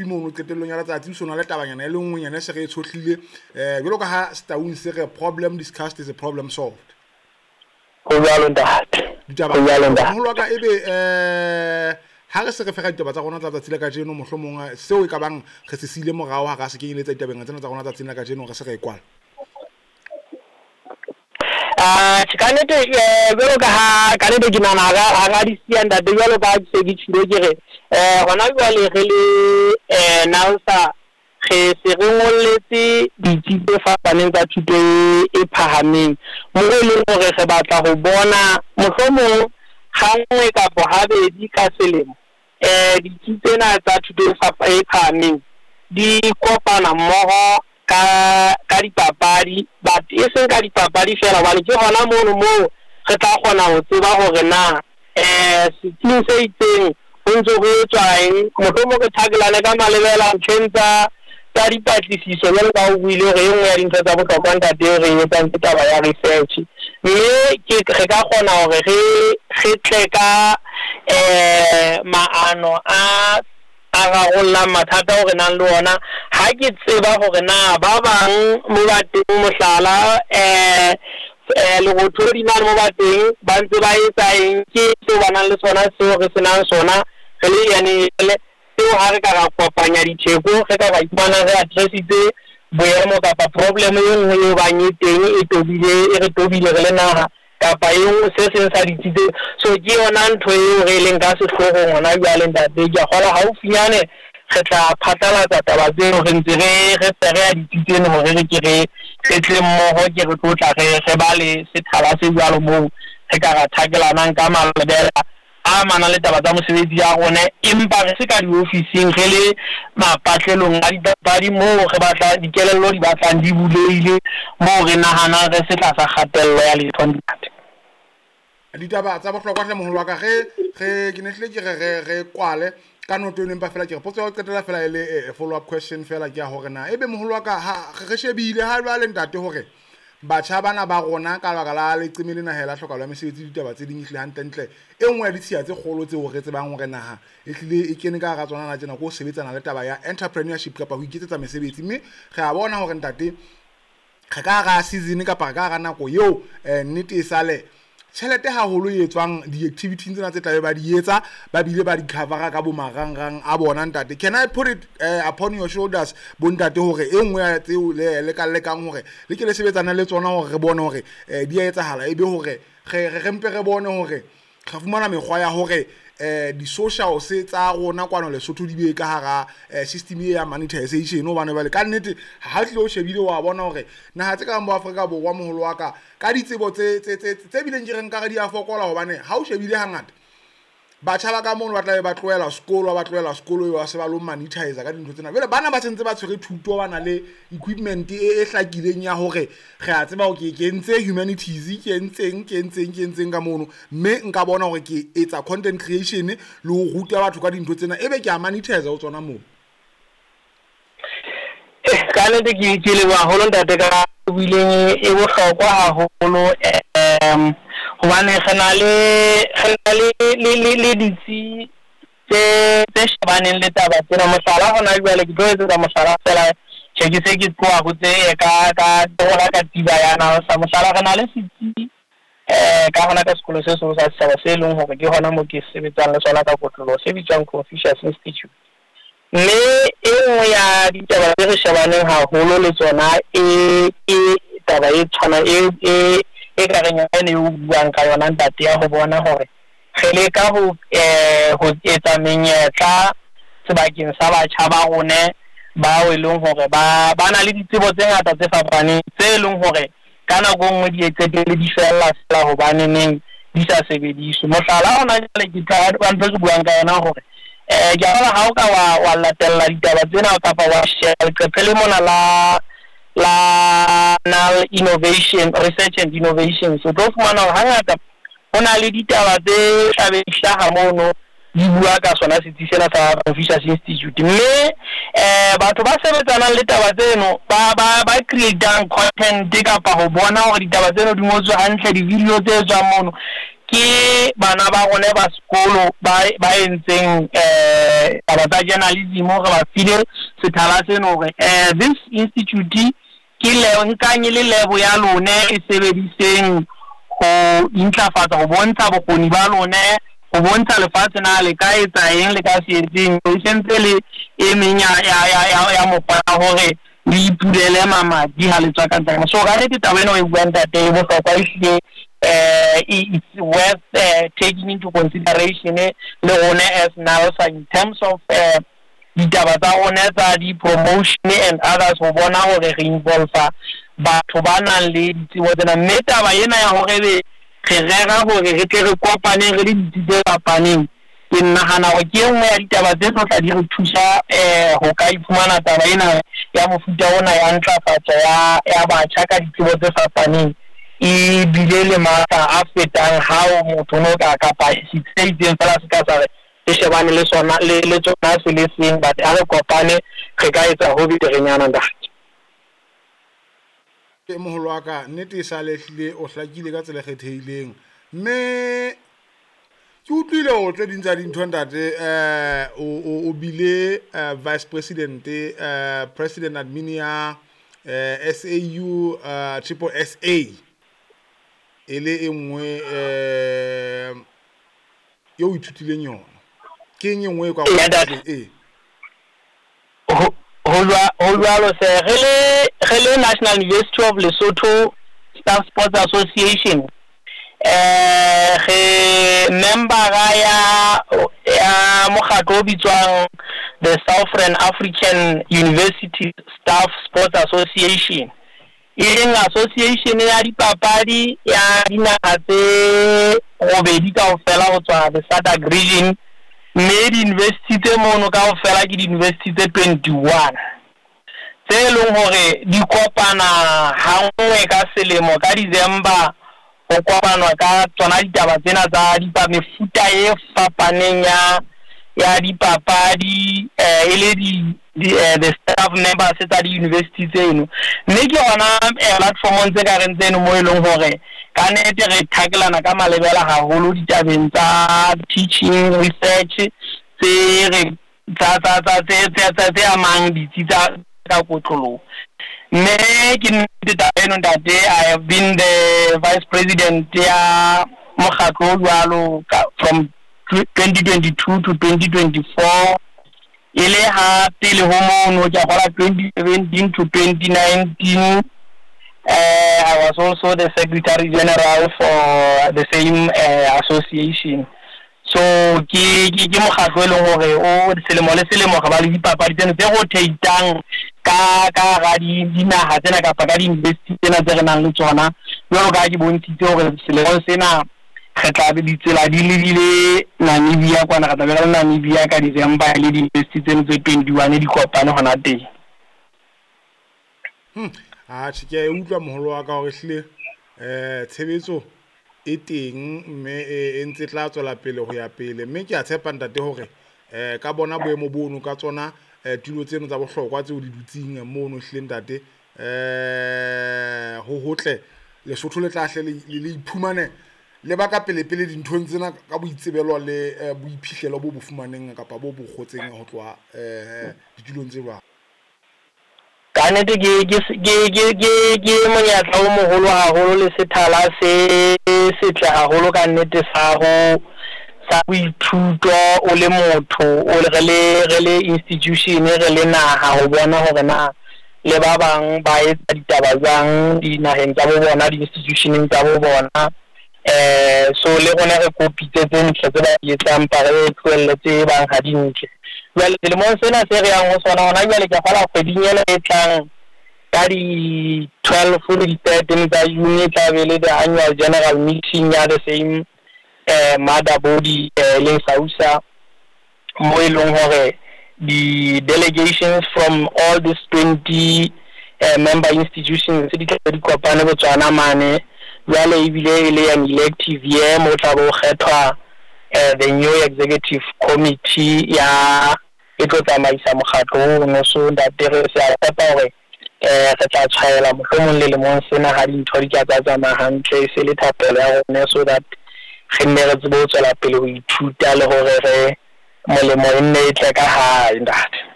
Mono qetellong ya letsatsi o so na le tabanyana e le nngwenyana e se re e tshohlile, jwalo ka ha Setaung se re problem discussed is a problem solved. Ho jwalo ntate. Ditaba Ho jwalo ntate. Moholo wa ka, ebe ha re se re fega ditaba tsa rona tsa tsatsi la kajeno, mohlomong seo e ka bang re se siile morao ha ra se kenyeletsa ditabeng tsena tsa rona tsatsing la kajeno, re se re e kwala. Atjhe, ka nnete jwalo ka ha ka nnete ke nahana ha ra di siya ntate, jwalo ka ha ke se ke tjhilo ke re hona jwale re le NALSA re se re ngolletse ditsi tse fapaneng tsa thuto e phahameng, moo e leng hore re batla ho bona mohlomong ha nngwe kapa habedi ka selemo ditsi tsena tsa thuto e phahameng di kopana mmoho ka dipapadi, but e seng ka dipapadi fela, hobane ke hona mono moo re tla kgona ho tseba hore na setsing se itseng ho ntso ho etswa eng. Mohlomong re thakelane ka malebela ntlheng tsa dipatlisiso, jwalo ka ha o buile hore e nngwe ya dintho tsa bohlokwa ntate eo re e etsang ke taba ya research, mme ke re ka kgona hore re tle ka maano a rarollang mathata ao re nang le ona. Ha ke tseba hore na ba bang mo ba teng, mohlala Lerothodi mane mo ba teng ba ntse ba etsa eng, ke seo ba nang le sona seo re senang sona re le NAL, seo ha re ka ra kopanya ditheko, re ka ra iphumana re addressitse boemo kapa problem e nngwe eo bang e teng e tobile, e re tobile re le naha kapa e nngwe se seng sa ditsi tse. So ke yona ntho eo re leng ka sehloohong hona jwale ntate. Ke a kgolwa haufinyane re tla phatlalatsa taba tseno, re ntse re fereha ditsi tseno hore re ke re tle mmoho, ke re tlo tla re ba le sethala se jwalo moo re ka ra thakelanang ka malebela a amanang le taba tsa mosebetsi ya rona, empa re se ka diofising, re le mapatlelong a dipapadi moo re batla dikelello di batlang di bulehile, moo re nahanang re se tlasa kgatello ya letho ntate. Ditaba tsa bohlokwa hle moholo wa ka, re ke ne hlile ke re kwale ka noto eno, empa fela ke re potso ya ho qetela fela e le follow up question fela ke ya hore na ebe moholo wa ka ha re shebile ha jwale ntate hore batjha bana ba rona ka lebaka la leqeme lena hela tlhokahalo ya mesebetsi, ditaba tse ding ehlile hantlentle e nngwe ya ditshiya tse kgolo tseo re tsebang hore naha e hlile e kene ka hara tsona na tjena ke ho sebetsana le taba ya entrepreneurship kapa ho iketsetsa mesebetsi. Mme re a bona hore ntate re ka hara season kapa re ka hara nako eo nnete e sale tjhelete haholo e etswang di-activities tsena tse tlabe ba di etsa, ba bile ba di covera ka bo marangrang a bona ntate. Can I put it upon your shoulders bo ntate hore e nngwe ya tseo le ka lekang hore le ke le sebetsana le tsona hore re bone hore di a etsahala, ebe hore re mpe re bone hore re fumana mekgwa ya hore di-socials tsa rona kwano Lesotho di be ka hara system e ya monetization, hobane jwale ka nnete ha tlile o shebile wa bona hore naha tse kang bo Afrika Borwa moholo wa ka ka ditsebo tse bileng ke re nkare di a fokola, hobane ha o shebile hangata batjha ba ka mono ba tlabe ba tlohela sekolo, ba tlohela sekolo ba se ba lo monetize ka dintho tsena. Jwale bana ba sentse ba tshwere thuto, ba na le equipment e hlakileng ya hore re a tseba hore ke entse humanities, ke entseng, ke entseng, ke entseng ka mono, mme nka bona hore ke etsa content creation le ho ruta batho ka dintho tsena, ebe ke a monetize ho tsona moo. Ka nnete ke leboha haholo ntate ka buileng, e bohlokwa haholo, hobane re na le ditsi tse shebaneng le taba tsena. Mohlala hona jwale ke tlo etsetsa mohlala fela, tjhe ke se ke tloha ho tse ka hona ka tiba ya NALSA. Mohlala re na le setsi ka hona ka sekolo se seholo sa setjhaba se leng hore ke hona moo ke sebetsang le sona ka kotloloho, se bitswang Confucius Institute. Mme e nngwe ya ditaba tse re shebaneng haholo le tsona e ke taba e tshwanang e ka reng yona eo o buang ka yona ntate, ya ho bona hore re leka ho etsa menyetla sebakeng sa batjha ba rona bao e leng hore ba na le ditsebo tse ngata tse fapaneng tse leng hore ka nako e nngwe di qetelle di fella fela hobane neng di sa sebediswe. Mohlala hona jwale ke tla ba ntho ke buang ka yona hore ke a bona ha o ka wa latella ditaba tsena kapa wa sheba leqephe le mona la NAL Innovation Research and Innovation, so tlo fumana hore hangata ho na le ditaba tse tlabe di hlaha mono di bua ka sona setsi sena sa Confucius Institute. Mme batho ba sebetsanang le taba tseno ba creatang content kapa ho bona hore ditaba tseno di ngotswe hantle, di-video tse tswang mono Ke bana ba rona ba sekolo ba ba entseng taba tsa journalism, re ba file sethala seno hore this institute ke le nkang e le lebo ya lone, e sebediseng ho intlafatsa, ho bontsha bokgoni ba lone, ho bontsha lefatshe na le ka etsa eng, le ka se etseng. E sentse le e meng ya mokgwa ya hore le ipulele mamati ha le tswa ka ntle. So ka nnete taba ena o e buang, ntate, e bohlokwa ehlile. It's worth taking into consideration le rona as NALSA in terms of ditaba tsa rona tsa di-promotion and others, ho bona hore re involve batho ba nang le ditsebo tsena. Mme taba ena ya hore be re rera hore re tle re kopane re le ditsi tse fapaneng, ke nahana hore ke e nngwe ya ditaba tse tlo tla di re thusa ho ka iphumana taba ena ya mofuta ona ya ntlafatso ya batjha ka ditsebo tse fapaneng e bile le matla a fetang hao motho no ka kapa setsi se itseng fela se ka sa re se shebane le sona le tsona se le seng, but ha re kopane re ka etsa ho beterenyana, ntate. Moholo wa ka, nnete e sale ehlile o hlakile ka tsela e kgethehileng, mme ke utlwile hore tse ding tsa dintho, ntate, o bile vice president, president admin ya SAU triple SA, e le e nngwe eo o ithutileng yona. Ke eng e nngwe e ka ee? Ho jwalo se re le National University of Lesotho Staff Sports Association, re membera ya mokgatlo o bitswang the Southern African University Staff Sports Association, e leng association ya dipapadi ya dinaha tse robedi kaofela ho tswa the SADC region. Mme di-university tse mono kaofela ke di-university tse 21 tse leng hore di kopana ha nngwe ka selemo ka December, ho kopanwa ka tsona ditaba tsena tsa mefuta e fapaneng ya dipapadi, e le di the staff members tsa di-university tseno. Mme ke hona platformong tse ka reng tseno mo e leng hore ka nnete re thakelana ka malebela haholo ditabeng tsa teaching, research tse re tsa tse amang ditsi tsa ka kotloloho. Mme ke nnete taba eno, ntate, I have been the vice president ya mokgatlo o jwalo from 2022 to 2024. E le ha pele ho mono, ke a kgola, 2017 to 2019, I was also the secretary general for the same association. So ke mokgatlo e leng hore o selemo le selemo re ba le dipapadi tseno tse rotate-ang ka hara dinaha tsena kapa ka di-university tsena tse re nang le tsona. Jwalo ka ha ke bontshitse hore selemong sena re tla be ditsela di lebile Namibia kwana, re tla be re le Namibia ka December le di-university tseno tse 21 di kopane hona teng. Atjhe, ke a e utlwa, moholo wa ka, hore ehlile tshebetso e teng, mme e ntse tla tswela pele ho ya pele. Mme ke a tshepa, ntate, hore ka bona boemo bono ka tsona tulo tseno tsa bohlokwa tseo di dutseng mono, ehlile, ntate, ho hotle Lesotho le tla hle le iphumane le ba ka pele pele dinthong tsena ka boitsebelo le boiphihlelo bo bo fumaneng kapa bo bo kgotseng ho tloha ditulong tse jwalo. Ka nnete ke monyetla o moholo haholo le sethala se setle haholo ka nnete sa ho sa boithuto o le motho o re le institution, re le naha, ho bona hore na le ba bang ba etsa ditaba jwang dinaheng tsa bo bona, di-institutioneng tsa bo bona. So le rona re kopitse tse ntle tse ba di etsang, mpa re tlohelle tse bang ha di ntle. Jwale selemong sena se re yang ho sona hona jwale, ke kgola kgweding ena e tlang ka di-12 le di-13 tsa June, e tla be le the annual general meeting ya the same mother body, leng SAUSA, mo e leng hore di-delegations from all these 20 member institutions di tla di kopane Botswana mane. Jwale ebile e le an elective year mo tla bo kgethwa the new executive committee ya e tlo tsamaisa mokgatlo ono. So ntate, re se a tshepa hore re tla tshwaela mohlomong le lemong sena ha dintho di ka tsa tsamaya hantle, e se le thapelo ya rona, so that Re nne re tsebe ho tswela pele ho ithuta le hore re molemo e nne e tle ka hae, ntate.